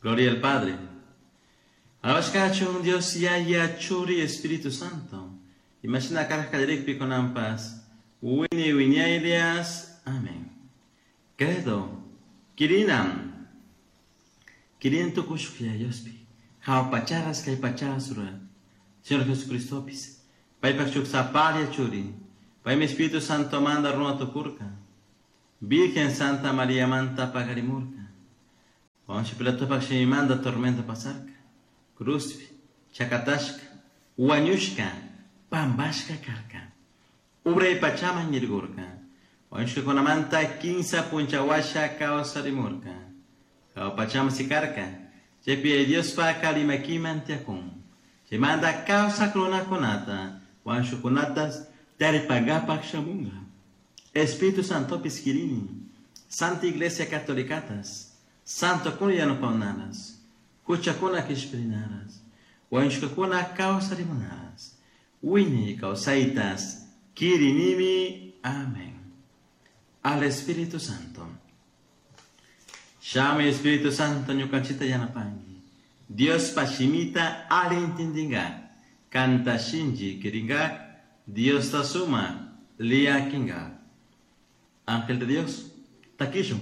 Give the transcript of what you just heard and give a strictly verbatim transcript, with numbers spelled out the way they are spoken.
Gloria al Padre. Alabashkachun Dios Yaya Churi Espíritu Santo. Imashina karka kallarikpi kunanpas. Wiñay wiñaylias. Amén. Credo. Kirinam. Kirin tukushuk Diospi. Jahua pacharas kay pacharas rura. Señor Jesucristopis. Paypak shuk sapalla churi. Paymi Espíritu Santo manda runa tukurka. Virgen Santa María manta paqarimurka. Poncio Pilatopak shimimanta tormenta pasarka. Cruzpi, chakatashka, huañushka, pambashka karka. Uray pachaman yaykurka. Huañushkakunamanta kinsa puncha huasha kawsarimurka. Jahua pachaman sikarka. Chaypi Diospak alli makiman tiyakun. Chaymanta kawsak runakunata, huañushkakunatas taripankapak shamunka. Espíritu Santopis kirini. Santa Iglesia Catolicatas. Santokuna yanapanaras. Huchakuna kishpirinaras. Huañushkakuna kawsarimunaras. Wiñay kawsaytas. Kirinimi. Amén. Al Espíritu Santo. Shamuy Espíritu Santo ñukanchikta yanapanki. Diospa shimita alli intindinkak. Kanta shinchi kirinkak. Diosta suma liakinkak. Ángel de Dios, takishun.